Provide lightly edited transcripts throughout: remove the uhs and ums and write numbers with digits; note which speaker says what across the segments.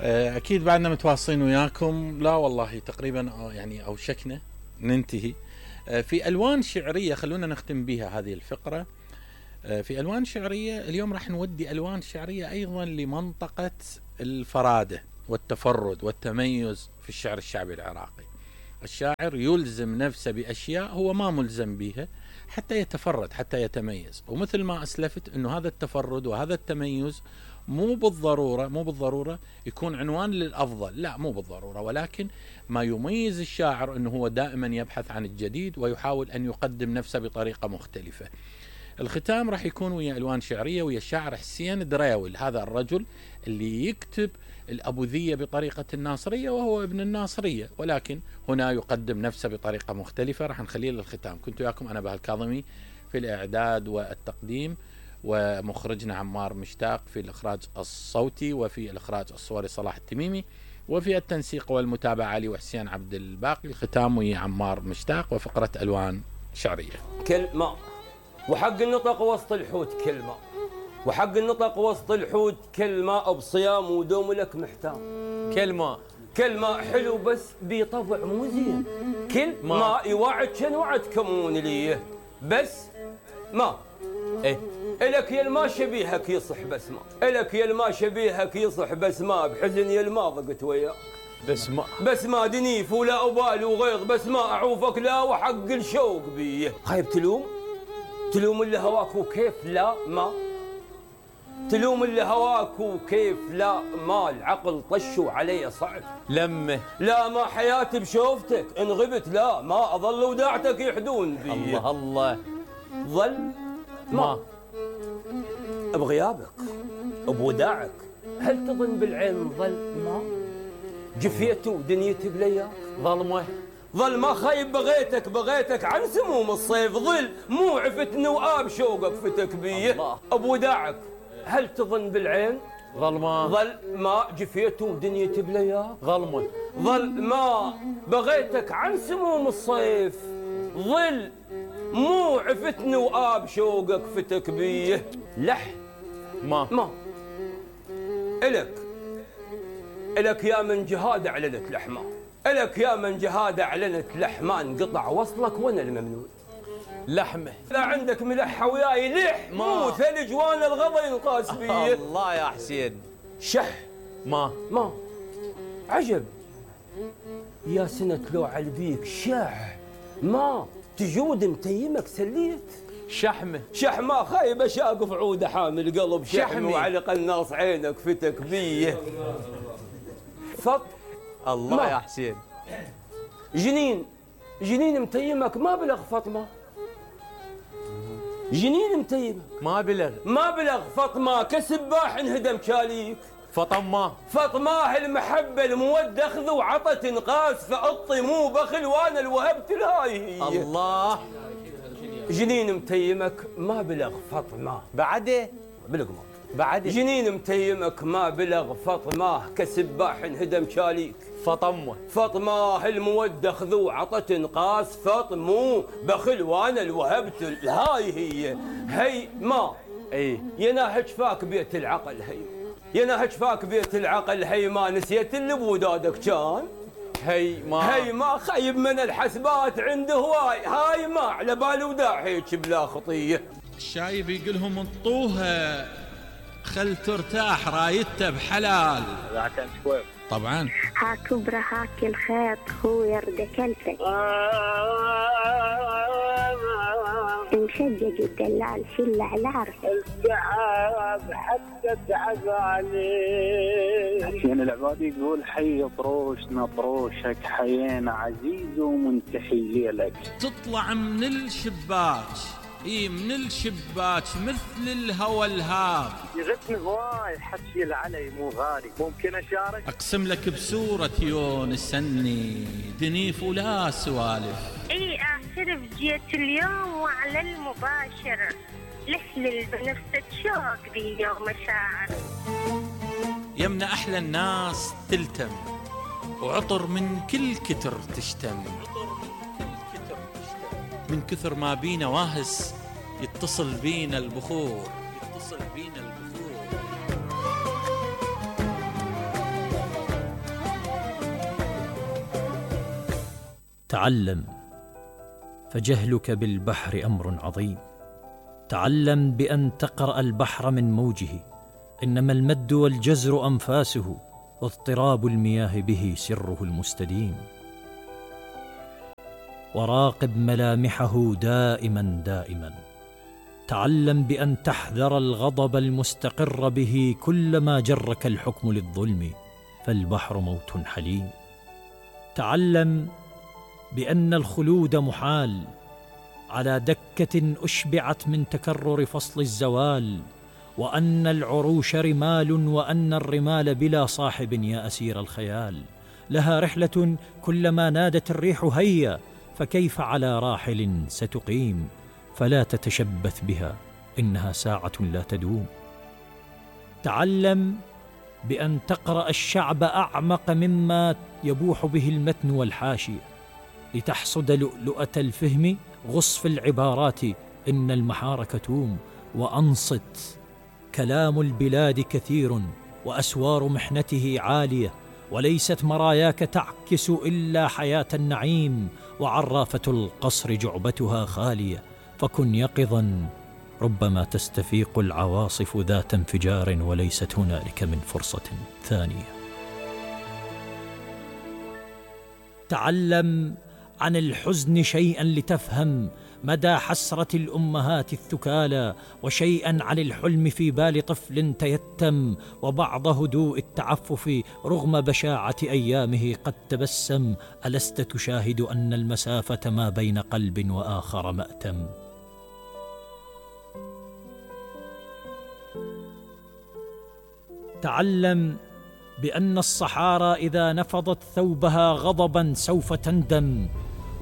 Speaker 1: أكيد بعدنا متواصلين وياكم. لا والله تقريبا يعني أوشكنا ننتهي. في ألوان شعرية خلونا نختم بها هذه الفقرة. في ألوان شعرية اليوم راح نودي ألوان شعرية أيضا لمنطقة الفرادة والتفرد والتميز في الشعر الشعبي العراقي. الشاعر يلزم نفسه بأشياء هو ما ملزم بها حتى يتفرد، حتى يتميز. ومثل ما أسلفت أنه هذا التفرد وهذا التميز مو بالضرورة يكون عنوان للأفضل، لا مو بالضرورة، ولكن ما يميز الشاعر أنه هو دائما يبحث عن الجديد ويحاول أن يقدم نفسه بطريقة مختلفة. الختام راح يكون ويا ألوان شعرية ويا الشاعر حسين دراول، هذا الرجل اللي يكتب الأبوذية بطريقة الناصرية وهو ابن الناصرية، ولكن هنا يقدم نفسه بطريقة مختلفة. راح نخليه للختام. كنت وياكم أنا بهاء الكاظمي في الإعداد والتقديم، ومخرجنا عمار مشتاق في الإخراج الصوتي، وفي الإخراج الصوري صلاح التميمي، وفي التنسيق والمتابعة علي وحسين عبد الباقي. الختام ويا عمار مشتاق وفقرة ألوان شعرية.
Speaker 2: كلمة وحق النطق وسط الحوت كلمة، وحق النطق وسط الحوت كلمة، بصيام ودوم لك محتام. كلمة حلو بس بطبع مو زين. كلمة يوعد كان وعد كمون ليه بس ما إلك يا الما شبيهك يصح بس ما، إلك يا الما شبيهك يصح بس ما، بحزن يا الما ضقت وياك بس ما دنيف ولا أبال وغيظ بس ما، أعوفك لا وحق الشوق بيه. خايب تلوم اللي هواك وكيف لا ما، تلوم اللي هواك وكيف لا ما، العقل طشوا علي صعب
Speaker 3: لمه
Speaker 2: لا ما، حياتي بشوفتك ان غبت لا ما، اظل وداعتك يحدون بي.
Speaker 3: الله
Speaker 2: ظل ما بغيابك بوداعك، هل تظن بالعين ظل ما، جفيت ودنيتي بلياك ظل ما، خايب بغيتك عن سموم الصيف، ظل مو عفتني وآب شوقك فتك بيه. بوداعك هل تظن بالعين ظل ما، جفيت ودنيتي بلياك ظل ما، بغيتك عن سموم الصيف، ظل مو عفتني وآب شوقك فتك بيه. لح ما إلك يا من جهاد أعلنت لحمة، إلك يا من جهاد أعلنت لحمة، انقطع وصلك وأنا الممنون
Speaker 3: لحمه.
Speaker 2: لا عندك ملحة وياي لح مو ثلج وانا الغضا ينقاس بيه.
Speaker 3: الله يا حسين.
Speaker 2: شح ما عجب يا سنة لو علبيك شح ما، تجود متيمك سليت. شحمة خايبة شاقف عودة حامل قلب شحم، وعلى قناص عينك فتك بيه.
Speaker 3: الله يا حسين.
Speaker 2: جنين متيمك ما بلغ فاطمة، جنين متيمك ما بلغ فاطمة، كسباح انهدم شاليك. فاطمة المحبة المودة اخذ وعطت انقاس، فأطي مو بخل وانا الوهبت الهاي هي.
Speaker 3: الله
Speaker 2: جنين متيمك ما بلغ فاطمة
Speaker 3: بعده
Speaker 2: جنين متيمك ما بلغ فاطمة، كسباح انهدم شاليك. فاطمة المودة اخذ وعطت انقاس، فاطمو بخل وانا الوهبت الهاي هي ما يناهج فاك بيت العقل يناهج فاك بيت العقل هي ما، نسيت اللي بودادك كان هي ما خيب من الحسبات عنده هاي ما، على بال وداع هيك بلا خطيه.
Speaker 1: الشايب يقولهم انطوها خل ترتاح رايته بحلال. طبعا
Speaker 4: ها كبرى هاك الخيط هو يرد كلفك، مشجج الدلال شل على عرفك،
Speaker 5: التعب حتى تعباني. حسين العبادي يقول حي طروشنا طروشك، حيينا عزيز ومنتحي ليلك.
Speaker 1: تطلع من الشباك من الشباك مثل الهوى الهاب،
Speaker 5: يغثني هواي حكي العلي مو غالي، ممكن اشارك؟
Speaker 1: اقسم لك بسورة يونس سني دنيف ولا سوالف.
Speaker 4: اعترف جيت اليوم وعلى المباشر، لحلل بنفسك شوق بي ومشاعر.
Speaker 1: يمنا احلى الناس تلتم، وعطر من كل كتر تشتم، من كثر ما بينا واهس يتصل بينا البخور.
Speaker 6: تعلم، فجهلك بالبحر أمر عظيم. تعلم بأن تقرأ البحر من موجه، إنما المد والجزر أنفاسه، واضطراب المياه به سره المستديم. وراقب ملامحه دائما دائما. تعلم بأن تحذر الغضب المستقر به كلما جرك الحكم للظلم، فالبحر موت حليم. تعلم بأن الخلود محال على دكة أشبعت من تكرر فصل الزوال، وأن العروش رمال، وأن الرمال بلا صاحب يا أسير الخيال. لها رحلة كلما نادت الريح هيا، فكيف على راحل ستقيم؟ فلا تتشبث بها، إنها ساعة لا تدوم. تعلم بأن تقرأ الشعب أعمق مما يبوح به المتن والحاشية، لتحصد لؤلؤة الفهم. غص في العبارات إن المحار كتوم، وأنصت. كلام البلاد كثير، وأسوار محنته عالية، وليست مراياك تعكس إلا حياة النعيم، وعرافة القصر جعبتها خالية. فكن يقظا، ربما تستفيق العواصف ذات انفجار، وليست هنالك من فرصة ثانية. تعلم عن الحزن شيئا لتفهم مدى حسرة الأمهات الثكالى، وشيئا عن الحلم في بال طفل تيتم، وبعض هدوء التعفف رغم بشاعة أيامه قد تبسم. ألست تشاهد أن المسافة ما بين قلب وآخر مأتم؟ تعلم بأن الصحارى إذا نفضت ثوبها غضبا سوف تندم،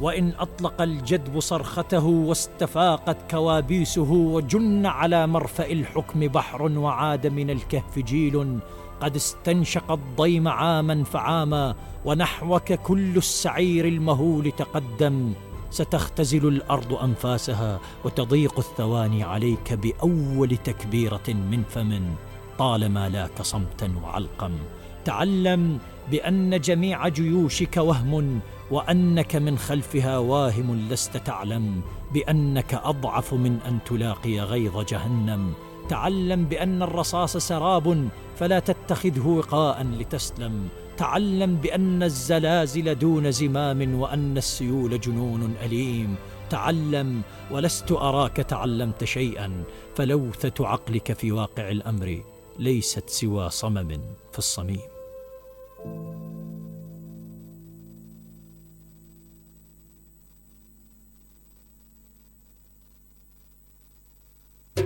Speaker 6: وإن أطلق الجدب صرخته واستفاقت كوابيسه، وجن على مرفأ الحكم بحر، وعاد من الكهف جيل قد استنشق الضيم عاما فعاما، ونحوك كل السعير المهول تقدم. ستختزل الأرض أنفاسها، وتضيق الثواني عليك بأول تكبيرة من فم، طالما لاك صمتا وعلقم. تعلم بأن جميع جيوشك وهم، وأنك من خلفها واهم. لست تعلم بأنك أضعف من أن تلاقي غيظ جهنم. تعلم بأن الرصاص سراب، فلا تتخذه وقاء لتسلم. تعلم بأن الزلازل دون زمام، وأن السيول جنون أليم. تعلم، ولست أراك تعلمت شيئا، فلوثة عقلك في واقع الأمر ليست سوى صمم في الصميم.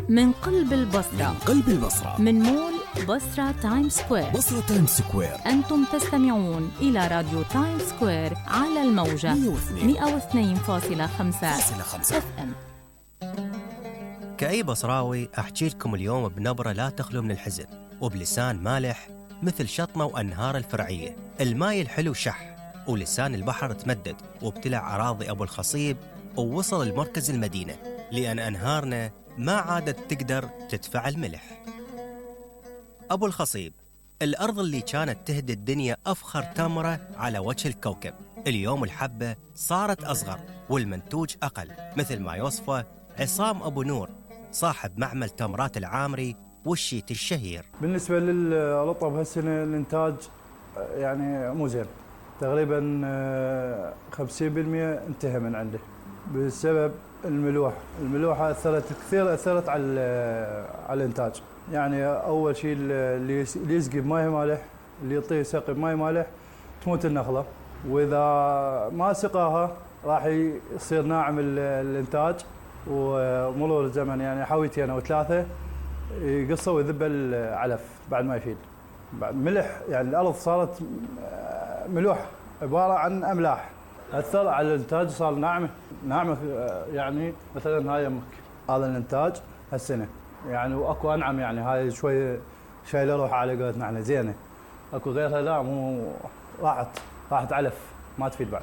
Speaker 7: من قلب البصرة،
Speaker 8: من قلب البصرة،
Speaker 7: من مول بصرة تايم سكوير،
Speaker 8: بصرة تايم سكوير.
Speaker 7: أنتم تستمعون إلى راديو تايم سكوير على الموجة 102.5 FM.
Speaker 9: كأي بصراوي أحكي لكم اليوم بنبرة لا تخلو من الحزن، وبلسان مالح مثل شطمة وأنهار الفرعية. الماي الحلو شح، ولسان البحر تمدد وابتلع أراضي أبو الخصيب، ووصل لمركز المدينة، لأن أنهارنا ما عادت تقدر تدفع الملح. أبو الخصيب، الأرض اللي كانت تهدي الدنيا أفخر تمرة على وجه الكوكب، اليوم الحبة صارت أصغر والمنتوج أقل، مثل ما يوصفه عصام أبو نور صاحب معمل تمرات العامري والشيت الشهير.
Speaker 10: بالنسبة للرطب هالسنة الإنتاج يعني مو زين، تقريبا 50% انتهى من عنده بسبب الملوحة أثرت على الإنتاج. يعني أول شيء اللي يسقي بماء مالح، اللي يعطيه سقي بماء مالح تموت النخلة، وإذا ما سقاها راح يصير ناعم الإنتاج، ومرور الزمن يعني حاويتين أو 3 يقصوا ويذب العلف بعد ما يفيد. بعد ملح، يعني الأرض صارت ملوحة عبارة عن أملاح، أثر على الإنتاج، صار ناعمة. يعني مثلا هاي يمك هذا الإنتاج هالسنة يعني، وأكو أنعم، يعني هاي شوي شايلة روحها على قولتنا احنا زينة، أكو غيرها لا، مو راحت علف ما تفيد بعد.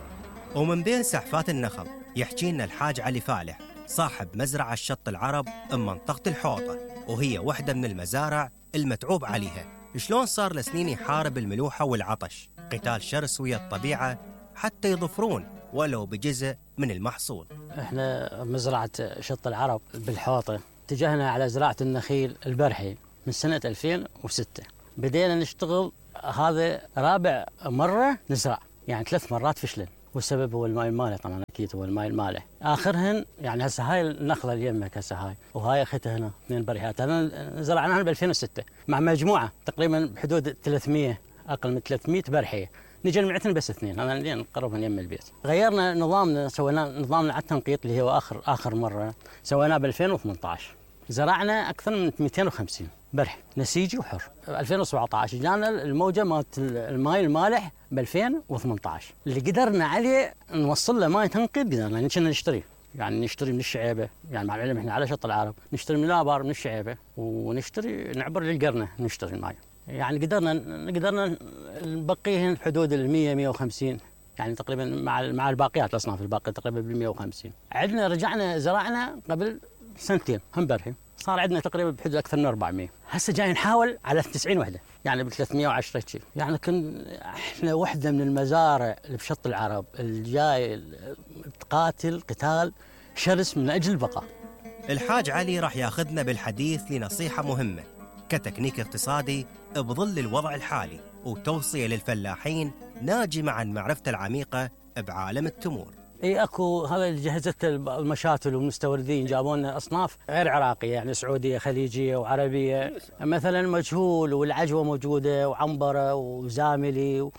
Speaker 9: ومن بين سحفات النخل يحكي لنا الحاج علي فالح صاحب مزرعة الشط العرب بمنطقة الحوطة، وهي واحدة من المزارع المتعوب عليها. شلون صار لسنين يحارب الملوحة والعطش، قتال شرس ويا الطبيعة حتى يظفرون ولو بجزء من المحصول.
Speaker 8: احنا مزرعة شط العرب بالحوطة اتجهنا على زراعة النخيل البرحي من سنة 2006. بدينا نشتغل، هذا رابع مرة نزرع، يعني 3 مرات فشلن، والسبب هو الماء المالح. طبعا اكيد هو الماء المالح. اخرهن يعني هسه هاي النخله اللي يمك هسه هاي، وهاي اختها هنا 2 بريهات. هذا زرعناها ب 2006 مع مجموعه تقريبا بحدود 300، اقل من 300 برحيه. نجي جمعتنا بس 2، انا اللي نقرب من يم البيت. غيرنا نظامنا، سوينا نظامنا على التنقيط اللي هو اخر مره سويناه ب 2018. زرعنا اكثر من 250 برح نسيجي وحر. 2017 جانا الموجه مالت الماء المالح ب 2018 اللي قدرنا عليه نوصل له ماء تنقيط. قدرنا كنا نشتري، يعني نشتري من الشعيبه، يعني مع العلم احنا على شط العرب نشتري من الابار من الشعيبه، ونشتري نعبر للقرنه نشتري الماء. يعني قدرنا نبقيهن بحدود ال 100 150، يعني تقريبا مع الباقيات الاصناف الباقيه تقريبا ب 150. عندنا رجعنا زرعنا قبل 2 هم برحي، صار عندنا تقريبا بحدود اكثر من 400. هسه جاي نحاول على 90 وحده، يعني ب 310 شيء. يعني احنا وحده من المزارع اللي بشط العرب الجاي تقاتل قتال شرس من اجل البقاء.
Speaker 9: الحاج علي راح ياخذنا بالحديث لنصيحه مهمه كتكنيك اقتصادي بظل الوضع الحالي، وتوصيه للفلاحين ناجمه عن معرفته العميقه بعالم التمور.
Speaker 8: اي اكو هذا اللي جهزت المشاتل والمستوردين، جابوا لنا اصناف غير عراقيه، يعني سعوديه خليجيه وعربيه، مثلا مجهول والعجوه موجوده وعنبره وزاملي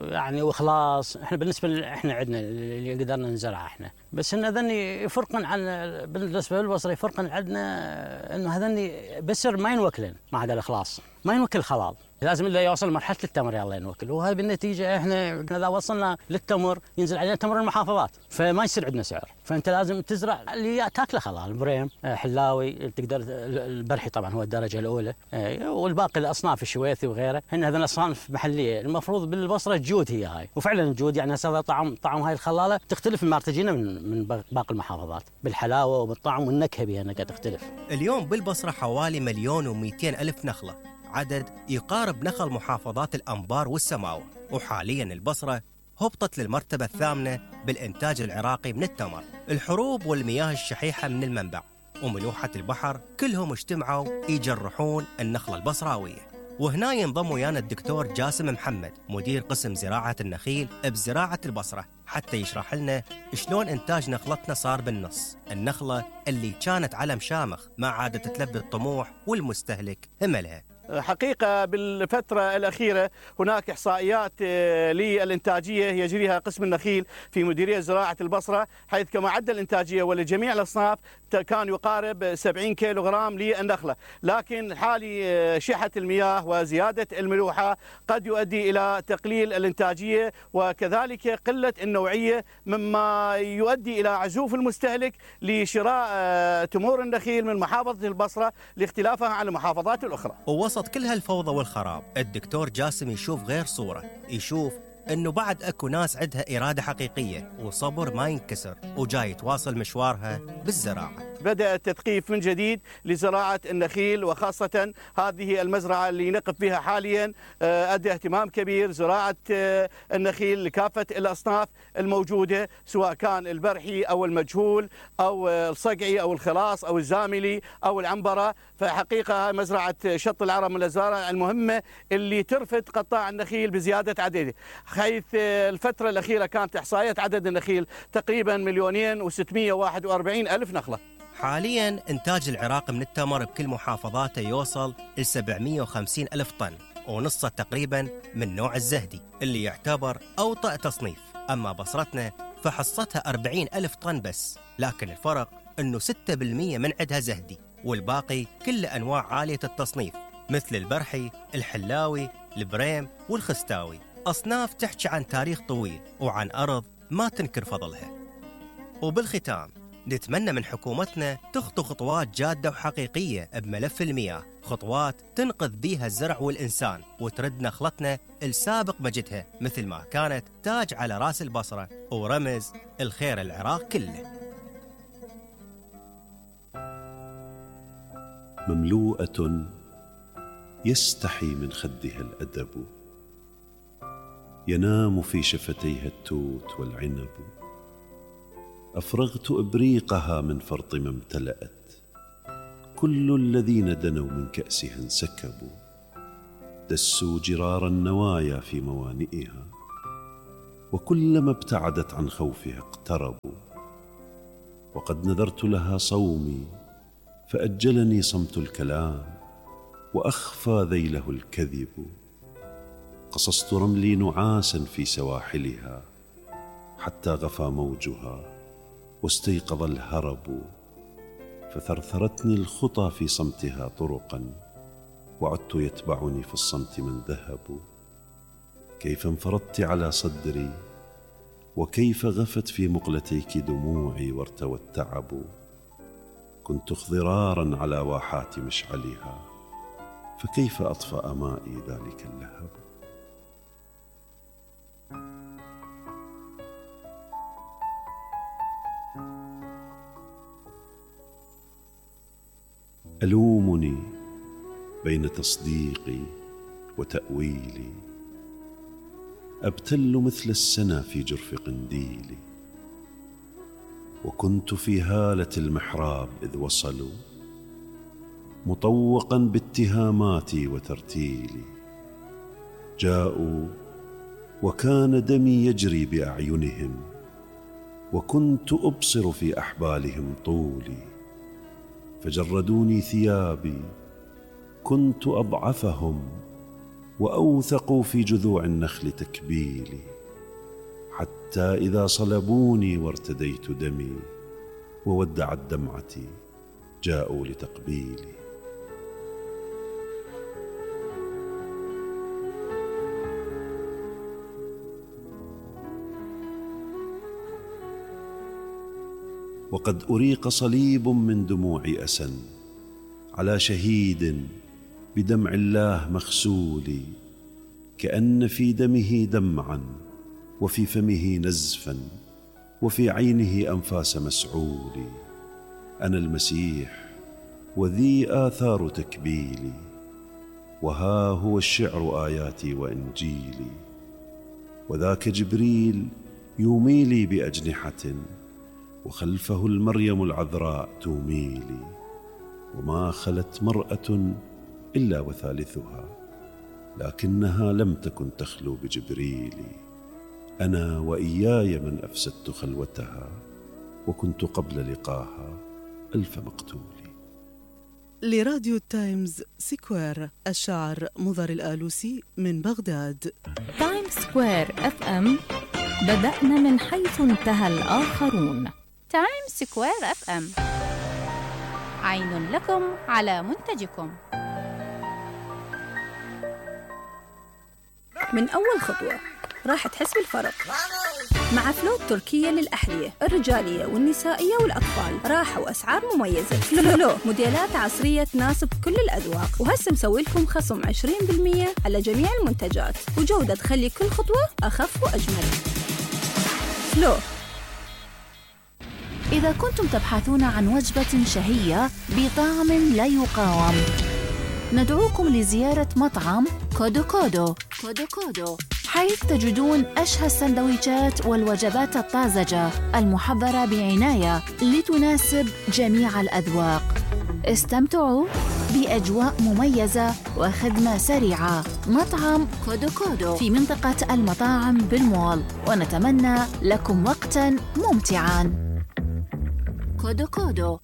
Speaker 8: يعني وخلاص. احنا بالنسبه احنا عندنا اللي قدرنا نزرعه احنا، بس ان هذني يفرقن عن بالنسبه للبصره، يفرقن عندنا انه هذني بسر ما ينوكلن مع هذا الاخلاص، ما ينوكل خلال، لازم الا يوصل مرحله التمر يلا ينوكل. وهاي بالنتيجه احنا اذا وصلنا للتمر ينزل علينا تمر المحافظات، فما يصير عندنا سعر. فانت لازم تزرع اللي تاكله خلال، بريم، حلاوي، تقدر البرحي طبعا هو الدرجه الاولى، والباقي الاصناف الشويثي وغيره، هن هذول اصناف محليه. المفروض بالبصره جود هي هاي، وفعلا الجود يعني هسه طعم هاي الخلاله تختلف مما تجينا من باقي المحافظات بالحلاوه وبالطعم والنكهه بها انها تختلف.
Speaker 9: اليوم بالبصره حوالي 1,200,000 نخله، عدد يقارب نخل محافظات الأنبار والسماوة. وحالياً البصرة هبطت للمرتبة الثامنة بالإنتاج العراقي من التمر. الحروب والمياه الشحيحة من المنبع وملوحة البحر كلهم اجتمعوا يجرحون النخلة البصراوية. وهنا ينضم ويانا الدكتور جاسم محمد، مدير قسم زراعة النخيل بزراعة البصرة، حتى يشرح لنا شلون إنتاج نخلتنا صار بالنص. النخلة اللي كانت علم شامخ ما عادت تلبي الطموح والمستهلك هملها.
Speaker 11: حقيقة بالفترة الأخيرة هناك إحصائيات للإنتاجية يجريها قسم النخيل في مديرية زراعة البصرة، حيث معدل الإنتاجية ولجميع الأصناف كان يقارب 70 كيلوغرام للنخلة، لكن حالي شحة المياه وزيادة الملوحة قد يؤدي إلى تقليل الإنتاجية وكذلك قلة النوعية، مما يؤدي إلى عزوف المستهلك لشراء تمور النخيل من محافظة البصرة لاختلافها عن المحافظات الأخرى.
Speaker 9: ووسط كل هالفوضى والخراب الدكتور جاسم يشوف غير صورة، يشوف انه بعد اكو ناس عندها إرادة حقيقية وصبر ما ينكسر وجاي تواصل مشوارها بالزراعة.
Speaker 11: بدأ التثقيف من جديد لزراعة النخيل، وخاصة هذه المزرعة اللي نقف بها حاليا أدى اهتمام كبير زراعة النخيل لكافة الأصناف الموجودة، سواء كان البرحي أو المجهول أو الصقعي أو الخلاص أو الزاملي أو العنبرة. فحقيقة مزرعة شط العرب من المزارع المهمة اللي ترفد قطاع النخيل بزيادة عدده، حيث الفترة الأخيرة كانت إحصائية عدد النخيل تقريبا 2,641,000 نخلة.
Speaker 9: حالياً إنتاج العراق من التمر بكل محافظاته يوصل ل 750,000 طن، ونصه تقريباً من نوع الزهدي اللي يعتبر أوطأ تصنيف. أما بصرتنا فحصتها 40,000 طن بس، لكن الفرق أنه 6% من عندها زهدي، والباقي كل أنواع عالية التصنيف مثل البرحي، الحلاوي، البريم والخستاوي، أصناف تحكي عن تاريخ طويل وعن أرض ما تنكر فضلها. وبالختام نتمنى من حكومتنا تخطو خطوات جادة وحقيقية بملف المياه، خطوات تنقذ بيها الزرع والإنسان وترد نخلتنا السابق مجدها، مثل ما كانت تاج على راس البصرة ورمز الخير العراق كله.
Speaker 12: مملوءة يستحي من خدها الأدب، ينام في شفتيها التوت والعنب، أفرغت إبريقها من فرط ما امتلأت. كل الذين دنوا من كأسها انسكبوا، دسوا جرار النوايا في موانئها، وكلما ابتعدت عن خوفها اقتربوا. وقد نذرت لها صومي فأجلني صمت الكلام، وأخفى ذيله الكذب. قصصت رملي نعاسا في سواحلها، حتى غفى موجها واستيقظ الهرب. فثرثرتني الخطى في صمتها طرقا، وعدت يتبعني في الصمت من ذهب. كيف انفرضت على صدري، وكيف غفت في مقلتيك دموعي وارتوى التعب. كنت اخضرارا على واحات مشعلها، فكيف أطفأ مائي ذلك اللهب. ألومني بين تصديقي وتأويلي، أبتل مثل السنا في جرف قنديلي. وكنت في هالة المحراب إذ وصلوا، مطوقا باتهاماتي وترتيلي. جاءوا وكان دمي يجري بأعينهم، وكنت أبصر في أحبالهم طولي. فجردوني ثيابي، كنت أضعفهم، وأوثقوا في جذوع النخل تكبيلي. حتى إذا صلبوني وارتديت دمي، وودعت دمعتي، جاءوا لتقبيلي. وقد أريق صليب من دموع أسى على شهيد بدمع الله مغسول، كأن في دمه دمعا، وفي فمه نزفا، وفي عينه أنفاس مسعول. أنا المسيح، وذي آثار تكبيلي، وها هو الشعر آياتي وإنجيلي. وذاك جبريل يوميلي بأجنحة، وخلفه المريم العذراء توميلي. وما خلت مرأة إلا وثالثها، لكنها لم تكن تخلو بجبريلي. أنا وإياي من أفسدت خلوتها، وكنت قبل لقاها ألف مقتول.
Speaker 13: لراديو تايمز سكوير، الشاعر مضر الآلوسي من بغداد.
Speaker 7: تايمز سكوير اف ام، بدأنا من حيث انتهى الآخرون.
Speaker 14: تايمز سكوير اف ام، عين لكم على منتجكم.
Speaker 15: من أول خطوة راح تحس بالفرق مع فلو التركية للأحذية الرجالية والنسائية والأطفال. راحة وأسعار مميزة. فلو موديلات عصرية تناسب كل الأذواق، وهسه مسوي لكم خصم 20% على جميع المنتجات، وجودة تخلي كل خطوة أخف وأجمل. فلو.
Speaker 14: إذا كنتم تبحثون عن وجبة شهية بطعم لا يقاوم، ندعوكم لزيارة مطعم كودو كودو. حيث تجدون أشهى السندويشات والوجبات الطازجة المحضرة بعناية لتناسب جميع الأذواق. استمتعوا بأجواء مميزة وخدمة سريعة. مطعم كودو في منطقة المطاعم بالمول، ونتمنى لكم وقتاً ممتعاً. كودو